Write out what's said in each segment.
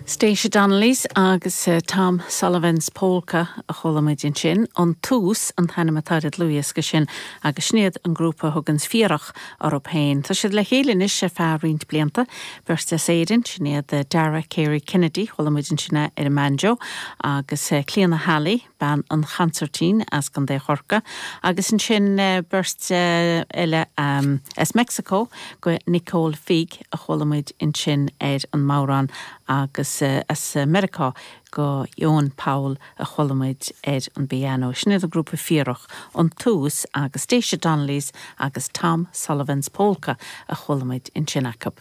Stacia Donnellys agus Tom Sullivan's Polka a chuala muid ansin. An Tús an t-ainm atá ar an dlúthdhiosca sin agus sin iad an grúpa a thuganns Fíorach orthu féin. Tá siad le chéile anois ar feadh roinnt blianta. Beirt as Éirinn, sin iad Dara Carey Kennedy, chuala muid ansin é ar an mbanjo, agus Clíona Halley, bean an chansairtín as gContae Chorcaí, agus ansin beirt eile as Meicsiceo, go Nicole Figg a chuala muid ansin ar an mbodhrán agus as Meiriceá go Eoin Powell a chuala muid ar an bpianó. Sin iad an grúpa Fíorach, An Tús agus Stacia Donnellys agus Tom Sullivan's Polka a chuala muid ansin acu.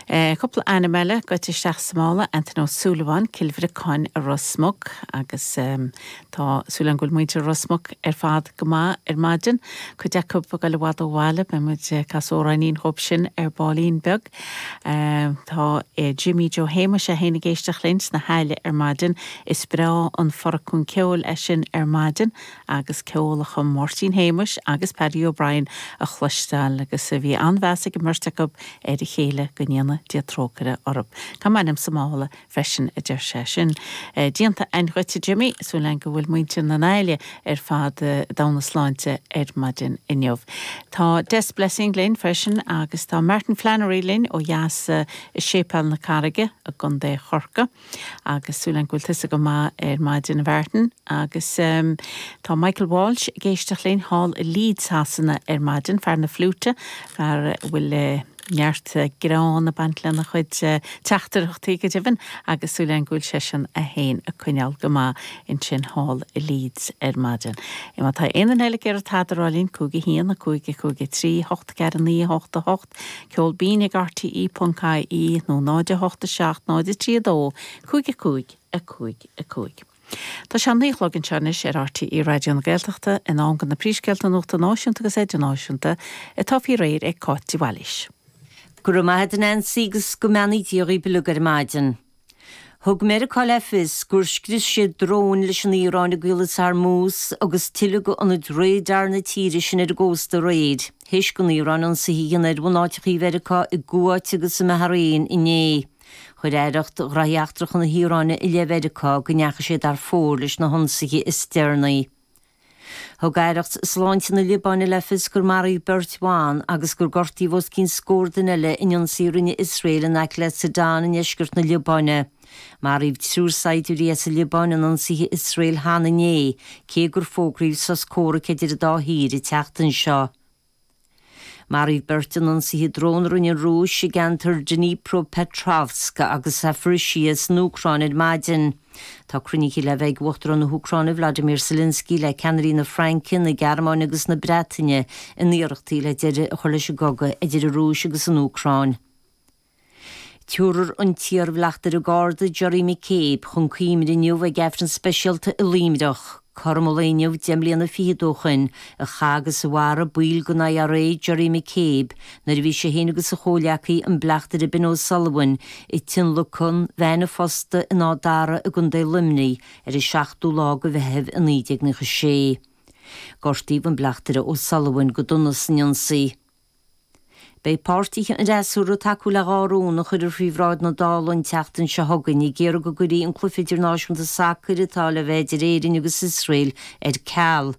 Cúpla ainm eile goite isteach sa mála, Antaine Ó Súilleabháin, Cill Bhriocáin i Ros Muc agus tá súil agam go bhfuil muintir Ros Muc ar fad go maith ar maidin. Cuid acu ag goil i bhfad ó bhaile, beidh muid ag casadh amhráinín dhóibh sin ar baillín beag. Tá Jimí Joe Shéamuis é féin ag éisteacht linn sna hAille ar maidin. Is breá an foracún ceoil é sin ar maidin. agus ceol a chum Máirtín Shéamuis agus Paddy O'Brien a chloisteáil agus bhí an-mheas ag an mbeirt acu ar a chéile, go ndéana Dia trócaire orthu. Tá m'ainm sa mála freisin, a deir sé. Sin déanta a'inn dhuit, a Jimmy. Súil a'inn go bhfuil muintir na nAille ar fad i dtogha na sláinte ar maidin inniu. Tá Des Blessing linn freisin agus tá Martin Flannery linn ó dheas i Séipéal na Carraige i gContae Chorcaí. Agus súil agam go bhfuil tusa go maith ar maidin, a Mhartin. Agus tá Michael Walsh ag éisteacht linn thall i Leeds Shasana ar maidin, fear na fliúite, fear a bhfuil neart greann ag baint lena chuid teachtaireachtaí go deimhin, agus súil agam go bhfuil seisean é féin ag coinneáil go maith ansin thall i Leeds ar maidin. Má tá aon duine eile ag iarraidh tada a rá linn, 5 1 5 5 3 8 4 9 8 8. Ceol binn ag rte ponc ie nó 0 8 7 0 3 2 5 5 5 5. Tá sé a naoi a chlog anseo anois ar RTÉ Raidió na Gaeltachta, in am do na príomhscéalta nuachta náisiúnta agus idirnáisiúnta atá faoi réir ag Cáit de Bhailís. Go raibh maith a't a Nancy agus go mbeannaí Dia dhaoibh uilig ar maidin. Thug Meiriceá le fios gur scrios siad dróin leis an Iaráin i gCaolas Hormuz agus tuilleadh d'ionaid radar na tíre sin ar an gcósta aréir, théis don Iaráin ionsaithe a dhéanamh ar bhunáiteacha Mheiriceá i gCuáit agus i mBahrain inné. Chuir Aireacht Ghraithí Eachtracha na hIaráine i leith Mheiriceá go ndeachaigh siad thar fóir leis na hionsaithe is deireanaí. Thug Aireacht Sláinte na Liobáine le fios gur maraíodh beirt bhan agus gur gortaíodh os cionn scór duine eile in ionsaí a rinne Iosrael in aice le Sidon i ndeisceart na Liobáine. Maraíodh triúr saighdiúirí as an Liobáin in ionsaithe Iosrael cheana inné, cé gur fógraíodh sos comhraic idir an dá thír an tseachtain seo. Maraíodh beirt in ionsaithe drón a rinne an Rúis i gceantar Dnipropetrovsk agus Zaporizhzhia san Úcráin ar maidin. Tá cruinnithe le bheith ag Uachtarán na hÚcráine Vladimir Zelensky le ceannairí na Fraince, na Gearmáine agus na Breataine in iarrachtaí le deireadh a chur leis an gcogadh idir an Rúis agus an Úcráin. Tabharfar an t-iarbhleachtaire Garda Gerry McCabe chun cuimhne inniu ag Aifreann speisialta i Luimneach. Cothrom an lae inniu 10 mbliana fichead ó shoin a chaith agus a mharaigh baill den IRA Gerry McCabe nuair a bhí sé féin agus a chomhleacaí an bleachtaire Ben O'Sullivan ag tionlacan veain an phosta in Áth Dara i gContae Luimnigh ar an 7ú lá de Mheitheamh i 1996. Gortaíodh an bleachtaire O'Sullivan go dona san ionsaí. Beidh páirtithe an fhreasúra ag tacú le 2 rún a chuirfear faoi bhráid na Dála an tseachtain seo chugainn ag iarraidh go gcuirfí an cluiche idirnáisiúnta sacair atá le bheith idir Éirinn agus Iosrael ar ceal.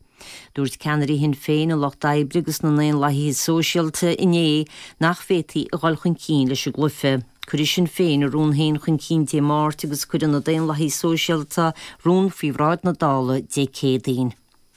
Dúirt ceannairí Shinn Féin, an Lucht Oibre agus na nDaonlathaithe Sóisialta inné nach bhféadfaí a dhul chun cinn leis an gcluiche. Cuirfidh Sinn Féin a rún féin chun cinn Dé Máirt agus cuirfidh na Daonlathaithe Sóisialta rún faoi bhráid na Dála Dé Céadaoin.